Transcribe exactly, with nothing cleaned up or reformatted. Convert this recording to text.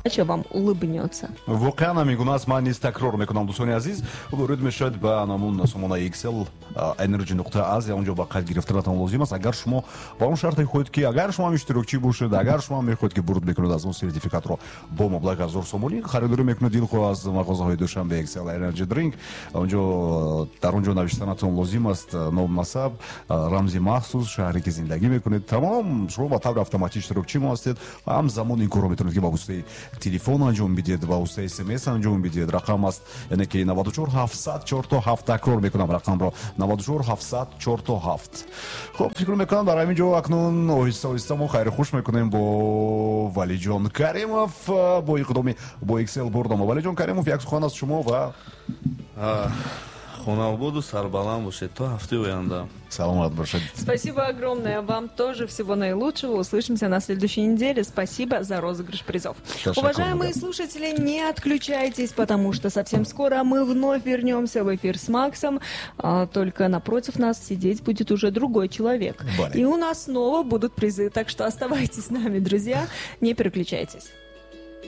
Удача вам улыбнется. Воқеан ҳамин гуна аст. Ман низ такрор мекунам, дӯстони азиз, ворид мешавед ба намун сомонаи X L Energy нуқта Азия, онҷо ба қайд гирифтанатон лозим аст. Агар шумо ба он шарте хоҳед, ки агар шумо ҳам иштирокчӣ бошед, агар шумо ҳам мехоҳед, ки бурд мекунед аз он сертификатро бо маблағи ҳазор сомонӣ, харидорӣ мекунед дилхоҳ аз мағозаҳои Душанбе X L Energy Drink, онҷо дар он ҷо навиштанатон лозим аст ном, насаб, рамзи махсус, шаҳре ки зиндагӣ мекунед. Тамом, шумо ба таври автоматӣ иштирокчӣ мо ҳастед. Ҳамзамон ин корро метавонед, ки ба воситаи телефон анҷом бидиҳед, ба воситаи смс анҷом бидиҳед. Рақам аст, яъне ки наваду чор ҳафтсад чор то ҳафт. Такрор мекунам рақамро: наваду чор ҳафтсад чор то ҳафт. Хуб, фикр мекунам, дар ҳамин ҷо акнун оҳиста оҳиста мо хайру хуш мекунем бо Валиҷон Каримов, бо иқдоми бо X L бурдома. Валиҷон Каримов, як сухан аз шумо ва Хонаободу сарбаланд бошед, то ҳафтаи оянда. Саломат бошед. Спасибо огромное. Вам тоже всего наилучшего. Услышимся на следующей неделе. Спасибо за розыгрыш призов. Уважаемые слушатели, не отключайтесь, потому что совсем скоро мы вновь вернемся в эфир с Максом. А, только напротив нас сидеть будет уже другой человек. Бале. И у нас снова будут призы. Так что оставайтесь с нами, друзья. Не переключайтесь.